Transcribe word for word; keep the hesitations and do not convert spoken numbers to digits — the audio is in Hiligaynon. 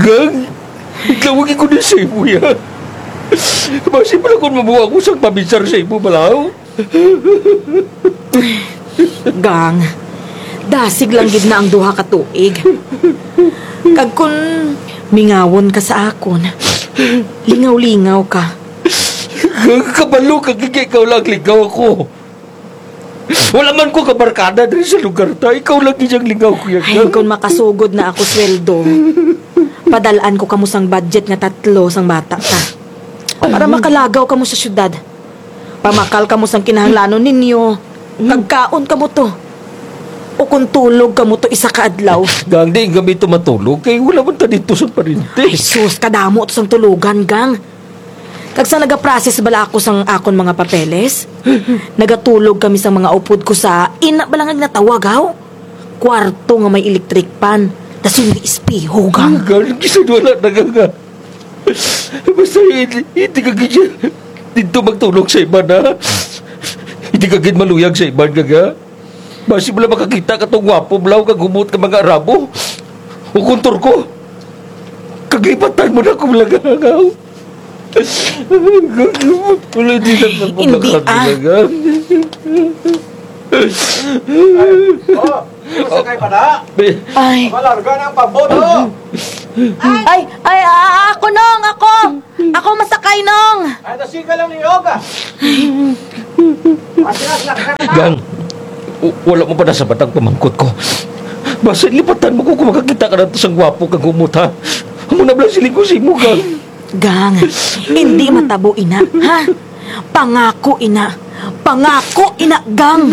Gang, itlawag ko ni sa imo ya. Basi pala kung mabuha ko sang paminsar sa imo, balaw. Gang, dasig lang gid na ang duha ka tuig. Kag kun mingawon ka sa akon, lingaw-lingaw ka. Gang, kabalo ka, kay ikaw lang lingaw ako. Wala man ko kabarkada diri sa lugar ta. Ikaw lang gid ang lingaw ko, ya. Ay, kung makasugod na ako sweldo, padalaan ko kamo sang budget nga tatlo sang bata ta. Para makalagaw kamo sa syudad. Pamakal kamo sang kinahanglanon ninyo. Kag kaon kamo to. O kung tulog kamo to isa ka adlaw. Gang, di kami to matulog kay wala man ta dito sa parinte. Ay, sus, kadamo to sang tulugan, gang. Kag sa nagaprocess bala ako sang akon mga papeles, nagatulog kami sa mga upod ko sa ina bala nga ginatawag, haw? Kwarto nga may electric fan, tas hindi espeho, gang. Gang, gisudwala na ka nga. Basta hindi, hindi ka gid dito magtulog sa iban, ha? Hindi ka gid maluyag sa iban, gaga. Basi mo lang makakita ka tong gwapo, blaw, kag humot ka mga Arabo. O kung Turko. Kaglipatan mo na akong langaw. Wala, di na Hindi, ah. Oh, masakay pa na? Ay, Malarga na ang pambot, oh! ay, ay, ah, ako, Nong, ako. Ako masakay, Nong. Ay, nasiga lang ni Yoga. Gang, w- wala mo pa nasabat ang pamangkot ko. Basta lipatan mo ko kung makakita ka na to sang gwapo kag humot, ha? Amo na bala siling ko sa imo, Gang. Gang, hindi matabo ina, ha? Pangako ina. Pangako ina, Gang.